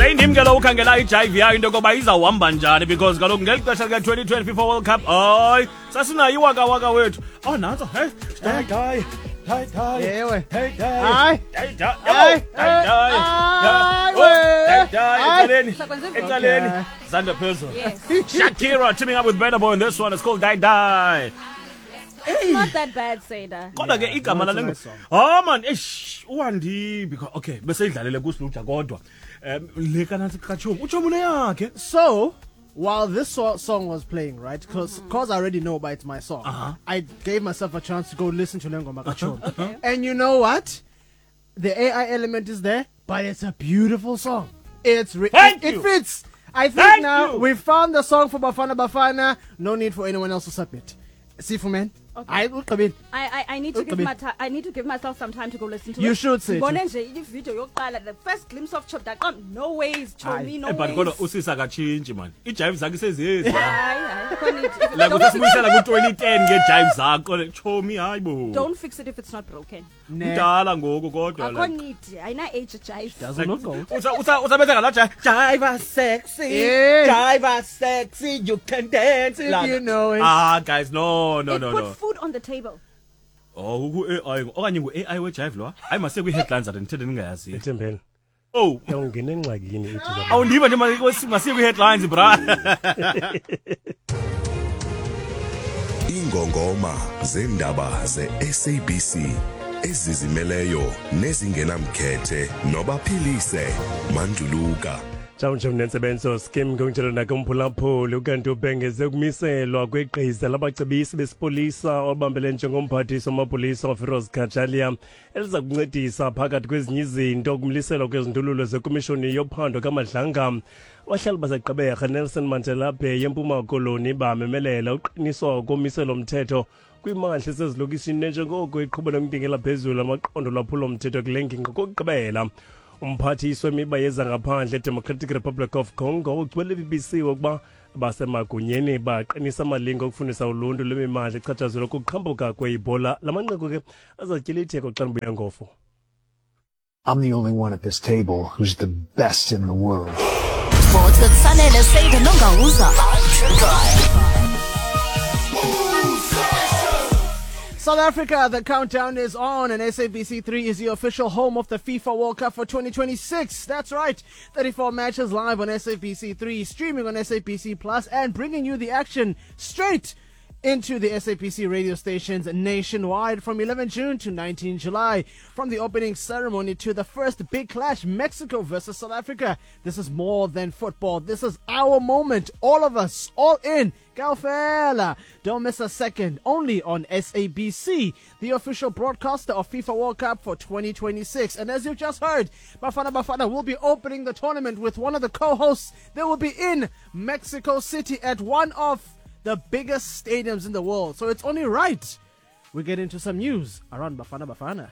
Seyindim ke lo ukhangela ijive yayo into yokoba izawuhamba njani, because kaloku ngeli xesha lika-2020 FIFA World Cup, hayi, sasinayo iwakawaka wethu. Oh, nantso, hey, die, die, die, die. Ewe. Hey, die. Hayi. Die, die. Hayi. Yabo, die, die. Hayi, Oh, we. die, die. Hayi. Ecaleni. Sakwenza ivuko. Ecaleni. Okay. Zandla phezulu. Yes. Shakira teaming up with Burna Boy on this one. It's called Die Die. It's not that bad, Seda. Kodwa ke igama no, it's a lale nice song. Oh man, eish, uwandi because okay, beseyidlalele kusiluja kodwa. Le kanansi kaChomi. UChomi uneyakhe. So, while this song was playing, right? Because I already know but it's my song. I gave myself a chance to go listen to Lengoma Kachom. And you know what? The AI element is there, but it's a beautiful song. Thank It you. fits. I think Thank now you. we found the song for Bafana Bafana. No need for anyone else to submit. Sifu man. Okay. I ugqibile. I need to give Ugqibile. my I need to give myself some time to go listen to You it. should, Sethu. Ngibone nje i-video yokuqala, the first glimpse of Chop Daqam. No ways, Chomi, no Eh, but ways. kodwa usisa akatshintshi man. Ijive zakhe sezezi. Hayi, hayi, akho need. If- Like don't usasibuyisela ku-2010 ngejive zakho. Chomi, hayi bo. Don't fix it if it's not broken. Ne. Mdala ngoku kodwa Akho like. need. Ayina age jive. Doesn't look old. Usabetha ngala jive. Jive sexy. Yeah. Jive sexy, you can dance. If you know it. Ah guys, no, no, It no, put no. food on the table. Oh, ku-AI okanye ngu-AI wejive lo. Hayi, masiye kwi-headlines ade ndithethe ndingayaziyo. Ethembeni. Oh. Uyawungena engxakini ithi zabantu. Awundiva nje, masiye kwi-headlines, bra. Ingongoma zendaba ze-SABC ezizimeleyo nezingenamkhethe nobaphilise Manduluka. Njawunje mnentsebenzo skim ngokunjalo nakumphulaphuli. Ukanti ubhengeze ukumiselwa kwegqiza labacebisi besipolisa obambele njengomphathiswa wamapolisa uFiroz Cachalia, eliza kuncedisa phakathi kwezinye izinto ukumliselwa kwezindululo zekomishoni yophando kaMadlanga. Abahlali baseGqeberha, Nelson Mandela Bay, eMpuma Koloni bamemelela uqiniswa komiselo mthetho kwimandla esezilokishini njengoko iqhuba nokuntingela phezulu amaqondo lwaphulo-mthetho kule ngingqi. Kokugqibela, umphathiswa wemiba yezangaphandle eDemocratic Republic of Congo ugcwele BBC ukuba basemagunyeni baqinisa amalinge okufundisa uluntu lwemimandla echatshazelwa kuqhambuka kweibhola. La manqaku ke azatyela itheko xa ndibuya ngofo. I'm the only one at this table who's the best in the world. Sports with Sanele Seda Nongauza. South Africa, the countdown is on, and SABC3 is the official home of the FIFA World Cup for 2026. That's right, 34 matches live on SABC3, streaming on SABC Plus, and bringing you the action straight into the SABC radio stations nationwide from 11 June to 19 July. From the opening ceremony to the first big clash, Mexico versus South Africa. This is more than football. This is our moment. All of us, all in. Kaofela. Don't miss a second. Only on SABC, the official broadcaster of FIFA World Cup for 2026. And as you've just heard, Bafana Bafana will be opening the tournament with one of the co-hosts. They will be in Mexico City at one of the biggest stadiums in the world. So it's only right we get into some news around Bafana Bafana.